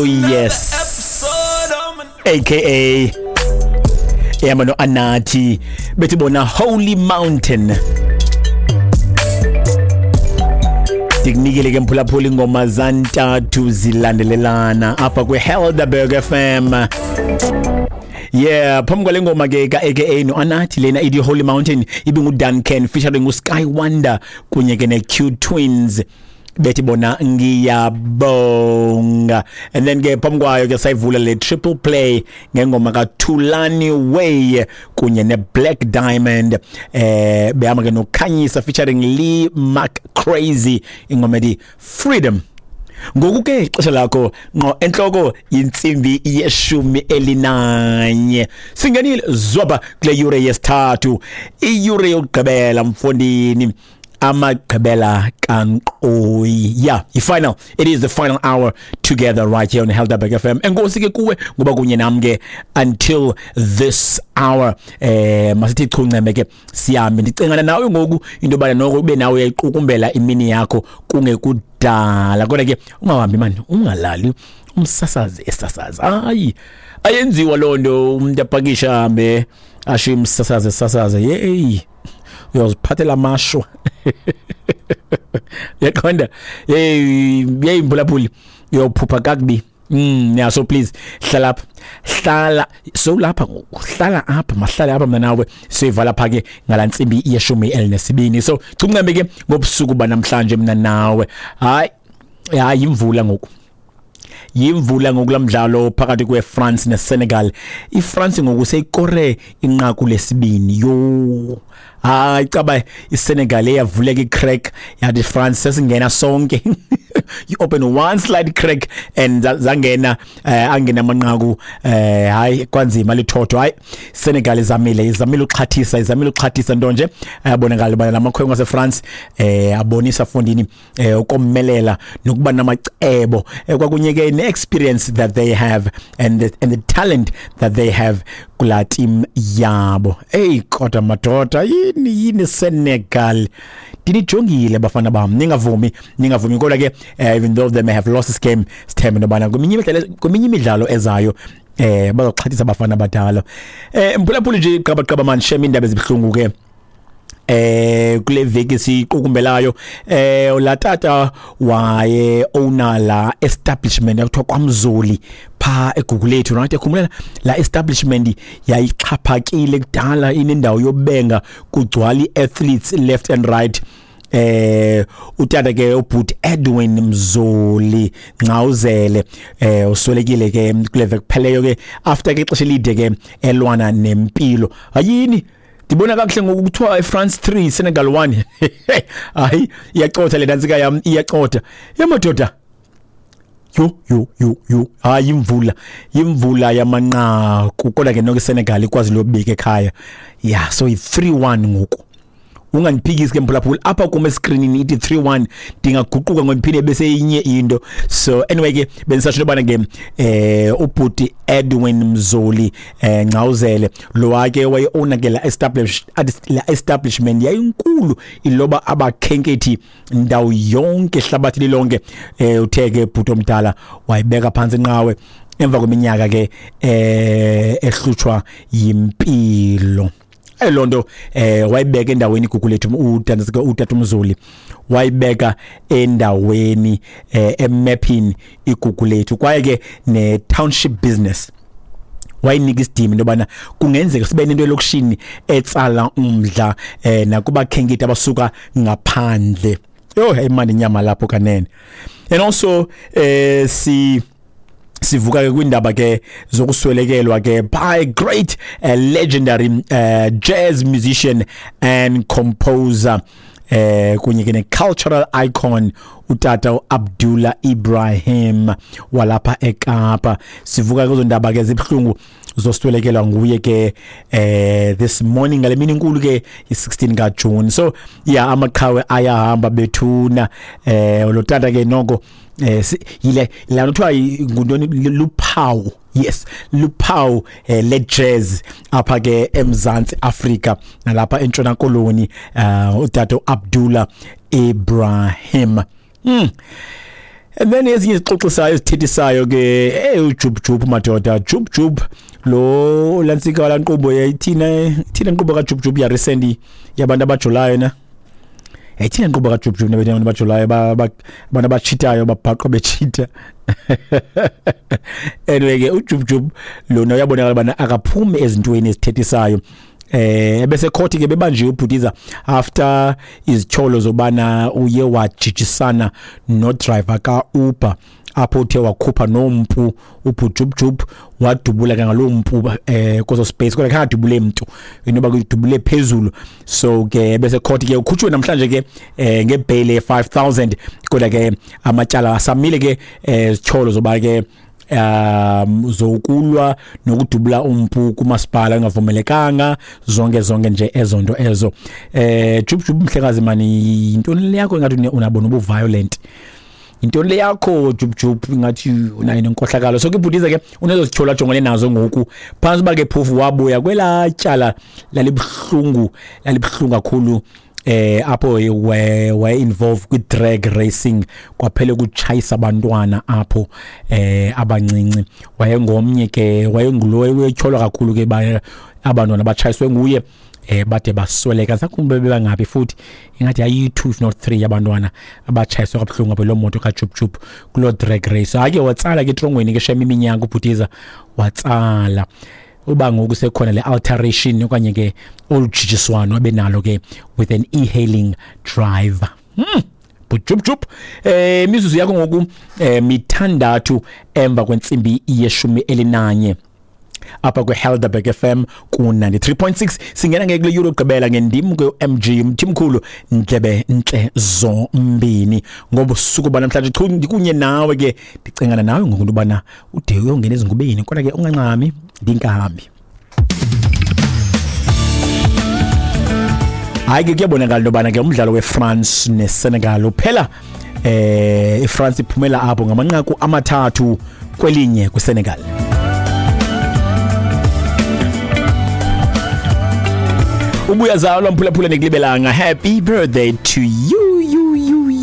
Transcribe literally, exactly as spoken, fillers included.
Oh yes, A K A ehamba no-Anathi, bethi bona Holy Mountain. Ndikunikele ke, mphulaphula, ingoma zantathu zilandelelana apha kwi-Helderberg F M. Yeah, phambi kwale ngoma ke ka-A K A no-Anathi lena ithi Holy Mountain, ibinguDuncan featuring uSky Wonder kunye ke ne-Q Twins, bethi bona Ngiyabonga. And then ke phambi kwayo ke sayivula le triple play ngengoma kaThulani Way kunye ne-Black Diamond, eh behamba ke noKhanyisa featuring Lee Mark Crazy, ingoma ethi Freedom. Ngoku ke ixesha lakho ngqo entloko yintsimbi yeshumi elinanye. Singenile zwaba kule yure yesithathu, iyure yokugqibela mfondini, amagqibela kankqoyi. Yeah, i-final, it is the final hour together right here on Helderberg F M. Enkosi ke kuwe ngoba kunye nam ke until this hour. eh masithi chunceme ke sihambe. Ndicingana nawe ngoku into yobana noko ube nawe uyayiqukumbela imini yakho kungekudala, kodwa ke ungahambi mani, ungalali umsasazi esasaza. Hayi, ayenziwa loo nto, umuntu apakisha ahambe ashiye umsasazi esasaza. Yeyi, uyoziphathela amashwa, yaqonda? Hey, hey mphulaphuli, uyophupha kakubi. Mm, yeah, so please hlala apha, hlala so lapha ngoku, hlala apha, mahlale apha mna nawe, siyivala pha ke ngalantsimbi yeshumi elinesibini. So chuncembe ke ngobusuku banamhlanje mna nawe. Hayi hayi, imvula ngoku, yimvula ngokulamdlalo phakathi kweFrance neSenegal. IFrance ngoku seyikore inqaku lesibini. Yo, hayi, caba iSenegal eyavuleka icrack, yathi France sesingena sonke. You open one slight crack and zangena, eh, angena amanqaku. eh hayi kwanzima lithotho. Hayi, Senegal izamile, izamile uxhathisa, izamile uxhathisa, nto nje ayabonakala bana lamakhwenkwe aseFrance eh abonisa fondini eh ukomelela nokuba namacebo, eh, kwakunye ke ne-experience that they have and the, and the talent that they have kula team yabo. Hey, kodwa madoda, yini yini Senegal, ndinijongile bafana bam, ningavumi, ningavumi. Kodwa ke eh, even though they may have lost this game, sithembe nobana kweminye imidlalo kweminye imidlalo ezayo eh bazoxhathisa abafana abadala. eh mphulaphuli nje, qaba qaba man, shem, indaba ezibuhlungu ke eh kule veki siqukumbelayo. eh la tata waye owner la establishment yakuthiwa kwaMzoli pha eGugulethu, right? Ekhumbula la establishment yayixhaphakile kudala, inendawo yobenga, kugcwala athletes left and right. eh utata ke ubhut Edwin Mzoli Ngcawuzele eh uswelekile ke kule veki kupheleyo ke, after ke ixesha elide ke elwana nempilo. Hayini, ndibona kakuhle ngoku, kuthiwa iFrance three, Senegal one. Hayi, iyacotha le dantsika yam, iyacotha yamadoda. Yo yo yo yo, hayi, imvula, imvula yamanqaku. Kodwa ke noko iSenegal ikwazi lobika ekhaya. Yeah, so i three one ngoku. Ungandiphikisi ke mphulaphula, apha kum escreenini ithi three one, ndingaguquka ngondiphinde bese inye into. So anyway ke bendisatsho into yobana ke eh ubhuti Edwin Mzoli eh Ngcawuzele lo wake waye-owner ke la establish la establishment yayinkulu, iloba abakhenkethi ndawo yonke, ehlabathi lilonke. eh uthe ke bhuti omdala wayibeka phansi inqawe emva kweminyaka ke eh ehlutshwa yimpilo. Elonto eh wayibeka endaweni iGugulethu utata utata uMzoli, wayibeka endaweni eh emaphini iGugulethu, kwaye ke ne township business wayinika isidima into yobana kungenzeka sibe nento elokishini etsala umdla eh nakubakhenkethi abasuka ngaphandle. Yo, imandi inyama lapho kanene. And also eh si sivuka ke kwindaba ke zokuswelekelwa ke by great uh, legendary uh, jazz musician and composer eh kunye ke ne cultural icon, utata uAbdullah Ibrahim walapha eKapa. Sivuka kuzo ndaba ke zibhlungu zoswelekelwa nguye ke eh this morning ngale mini inkulu ke i sixteen ka June. So yeah, amaqhawe ayahamba bethuna. eh lo tata ke noko eh yile la kuthiwa nguntoni, luphawu, yes, luphawu eh, le jazz apha ke eMzantsi Afrika nalapha eNtshona Koloni, uh, utata Abdullah Ibrahim mm. And then ezinye izixoxisayo ezithethisayo ke, hey uJubjub madoda, Jubjub lo lantsika lankqubo yayithina ithina inkqubo kaJubjub ya recently yabantu abajolayo na. Yayithina inkqubo kaJubjub nabantu abajolayo abantu abachitayo babhaqwa bechita. Anyway ke uJubjub lona uyabonakala bana akaphumi ezintweni ezithethisayo. Eh bese court ke bebanjiwe uBhutiza after izityholo zobana uye wajijisana no driver ka Uber apho uthe wakhupha nompu uBhujubjub wadubula ke ngalompu eh kozo space kodwa khangadubule umuntu inoba kudubule phezulu. So ke bese court ke ukhutshwe namhlanje ke eh ngebail ye five thousand kodwa ke amatyala asamile ke izityholo zoba ke um zokulwa nokudubula umpu kumasipala engavumelekanga zonke zonke nje ezonto ezo. Eh Jubjub mhlekazi mani intoni le yakho ngathi unabona ubu violent, intoni le yakho Jubjub ngathi unayo nenkohlakalo. So ke Bhutiza ke unezozityholo ajongene nazo ngoku phantsi ba ke phofu wabuya kwela tyala lalibuhlungu lalibuhlungu kakhulu eh apho we we involved kwi drag racing kwaphele kuchayisa abantwana apho eh abancinci. Wayengomnye ke wayengulo wetyholwa kakhulu ke abantwana abachayiswe nguye eh bade basweleka. Sakumbe bebangapi futhi ingathi ayi two if not three abantwana abachayiswe kabuhlungu apho lo moto kaJubjub kulo drag race. Ake watsala ke etrongweni ke shame iminyaka uBhutiza watsala uba ngoku sekhona le alteration okanye ke olujijiswano abenalo ke with an e-hailing driver. Hmm Bujubjub eh imizuzu yakho ngoku eh mithandathu emva kwentsimbi yeshumi elinanye apha kwe-Helderberg F M ku ninety-three point six. Singena ngeke kule euro gqibela ngendim ke M G Mthimkhulu ndlebe ntle zombini ngobusuku banamhlanje chu ndikunye nawe ke ndicengana nawe ngokuntu bana ude uyongena ezingubeni kodwa ke unganxami ndingahambi. Hayi ke kuyabonakala into bana ke umdlalo weFrance neSenegal uphela eh iFrance iphumela apho ngamanqaku amathathu kwelinye kwiSenegal. Ubuya zalwa mphulaphula nekulibelanga. Happy birthday to you.